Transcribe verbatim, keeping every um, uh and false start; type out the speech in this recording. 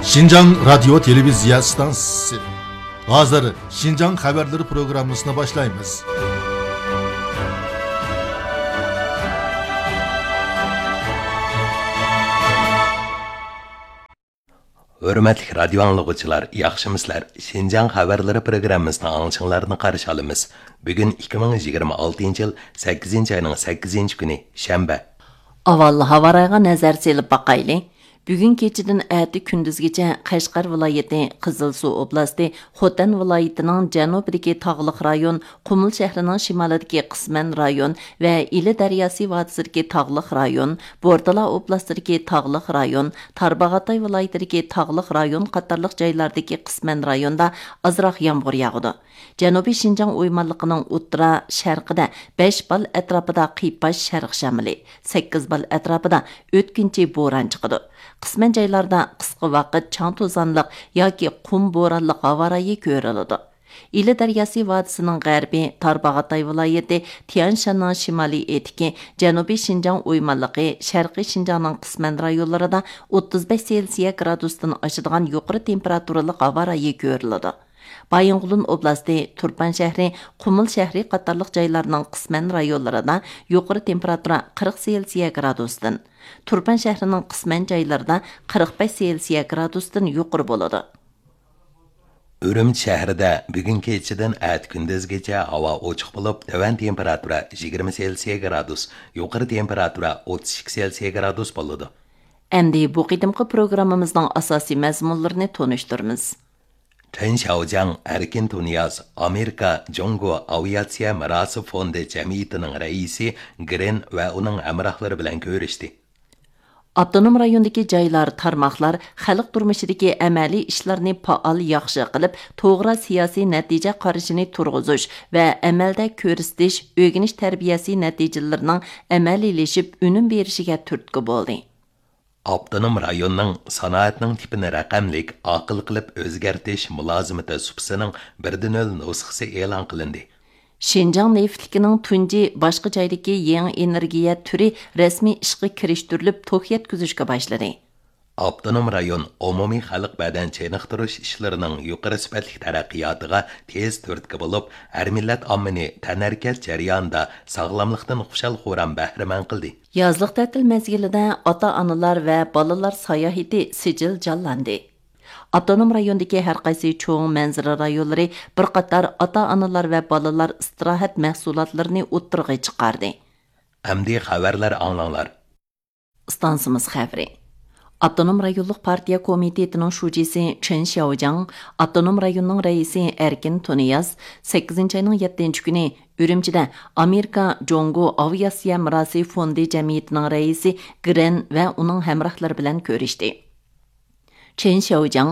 شىنجاڭ رادىيو تېلېۋىزىيە ئىستانسىسى. ھازىر شىنجاڭ خەۋەرلىرى پروگراممىسىنى باشلايمىز. ھۆرمەتلىك رادىيو ئاڭلىغۇچىلار، ياخشىمۇسىلەر؟ شىنجاڭ خەۋەرلىرى پروگراممىسىنىڭ ئاڭلىشىڭلارنى قارشى ئالىمىز. بۈگۈن ئىككى مىڭ يىگىرمە ئالتىنچى يىل سەككىزىنچى ئاينىڭ سەككىزىنچى كۈنى، شەنبە. ئاۋۋال ھاۋا رايىغا نەزەر سېلىپ باقايلى. بۈگۈن كېچىدىن ئەتە كۈندۈزگىچە قەشقەر ۋىلايىتى، قىزىلسۇ ئوبلاستى، خوتەن ۋىلايىتىنىڭ جەنۇبىدىكى تاغلىق رايون، قۇمۇل شەھىرىنىڭ شىمالىدىكى قىسمەن رايون ۋە ئىلى دەرياسى ۋادىسىدىكى تاغلىق رايون، بورتالا ئوبلاستىدىكى تاغلىق رايون، تارباغاتاي ۋىلايىتىدىكى تاغلىق رايون قاتارلىق جايلاردىكى قىسمەن رايوندا ئازراق يامغۇر ياغىدۇ. جەنۇبىي شىنجاڭ ئويمانلىقىنىڭ ئوتتۇرا، شەرقىدە بەش بال ئەتراپىدا قىيپاش شەرق شامىلى، سەككىز بال ئەتراپىدا ئۆتكۈنچى بوران چىقىدۇ. قىسمەن جايلاردا قىسقا ۋاقىت چاڭ توزانلىق ياكى قۇم بورانلىق ھاۋا رايى كۆرۈلىدۇ. ئىلى دەرياسى ۋادىسىنىڭ غەربى، تارباغاتاي ۋىلايىتى، تيەنشاننىڭ شىمالىي ئېتىكى، جەنۇبىي شىنجاڭ ئويمانلىقى، شەرقىي شىنجاڭنىڭ قىسمەن رايونلىرىدا ئوتتۇز بەش سېلسىيە گرادۇستىن ئاشىدىغان يۇقىرى تېمپېراتۇرىلىق ھاۋا رايى كۆرۈلىدۇ. بايىنغولىن ئوبلاستى، تۇرپان شەھىرى، قۇمۇل شەھىرى قاتارلىق جايلارنىڭ قىسمەن رايونلىرىدا يۇقىرى تېمپېراتۇرا قىرىق سېلسىيە گرادۇستىن، تۇرپان شەھىرىنىڭ قىسمەن جايلىرىدا قىرىق بەش سېلسىيە گرادۇستىن يۇقىرى بولىدۇ. ئۈرۈمچى شەھىرىدە بۈگۈن كېچىدىن ئەتە كۈندۈزگىچە ھاۋا ئوچۇق بولۇپ، تۆۋەن تېمپېراتۇرا يىگىرمە سېلسىيە گرادۇس، يۇقىرى تېمپېراتۇرا ئوتتۇز ئىككى سېلسىيە گرادۇس بولىدۇ. ئەمدى بۇ قېتىمقى پروگراممىمىزنىڭ ئاساسىي مەزمۇنلىرىنى تونۇشتۇرىمىز. چېن شياۋجياڭ، ئەركىن تۇنىياز، ئامېرىكا جۇڭگو ئاۋىئاتسىيە مىراسى فوندى جەمئىيىتىنىڭ رەئىسى گرېن ۋە ئۇنىڭ ھەمراھلىرى بىلەن كۆرۈشتى. ئاپتونوم رايوندىكى جايلار، تارماقلار خەلق تۇرمۇشىدىكى ئەمەلىي ئىشلارنى پائال ياخشى قىلىپ، توغرا سىياسىي نەتىجە قارىشىنى تۇرغۇزۇش ۋە ئەمەلدە كۆرسىتىش، ئۆگىنىش تەربىيەسى نەتىجىلىرىنىڭ ئەمەلىيلىشىپ ئۈنۈم بېرىشىگە تۈرتكە بولدى. ئاپتونوم رايوننىڭ سانائەتنىڭ تىپىنى رەقەملىك، ئاقىل قىلىپ ئۆزگەرتىش مۇلازىمىتى سۇپىسىنىڭ بىردىنلا نۇسخىسى ئېلان قىلىندى. شىنجاڭ نېفىتلىكىنىڭ تۇنجى باشقا جايدىكى يېڭى ئېنېرگىيە تۈرى رەسمىي ئىشقا كىرىشتۈرۈلۈپ، توك يەتكۈزۈشكە باشلىدى. ئاپتونوم رايون ئومۇمىي خەلق بەدەن چېنىقتۇرۇش ئىشلىرىنىڭ يۇقىرى سۈپەتلىك تەرەققىياتىغا تېز تۈرتكە بولۇپ، ھەر مىللەت ئاممىنى تەنھەرىكەت جەريانىدا ساغلاملىقتىن خۇشال-خۇرام بەھرىمەن قىلدى. يازلىق تەتىل مەزگىلىدە ئاتا-ئانىلار ۋە بالىلار ساياھىتى سىجىل جانلاندى. ئاپتونوم رايوندىكى ھەر قايسى چوڭ مەنزىرە رايونلىرى بىر قاتار ئاتا-ئانىلار ۋە بالىلار ئىستىراھەت مەھسۇلاتلىرىنى ئوتتۇرىغا چىقاردى. ئەمدى خەۋەرلەر ئاڭلاڭلار. ئىستانسىمىز خەۋىرى. ئاپتونوم رايونلۇق پارتىيە كومىتېتىنىڭ شۇجىسى چېن شياۋجياڭ، ئاپتونوم رايوننىڭ رەئىسى ئەركىن تۇنىياز سەككىزىنچى ئاينىڭ يەتتىنچى كۈنى ئۈرۈمچىدە ئامېرىكا جۇڭگو ئاۋىئاتسىيە مىراسى فوندى جەمئىيىتىنىڭ رەئىسى گرېن ۋە ئۇنىڭ ھەمراھلىرى بىلەن كۆرۈشتى. چېن شياۋجياڭ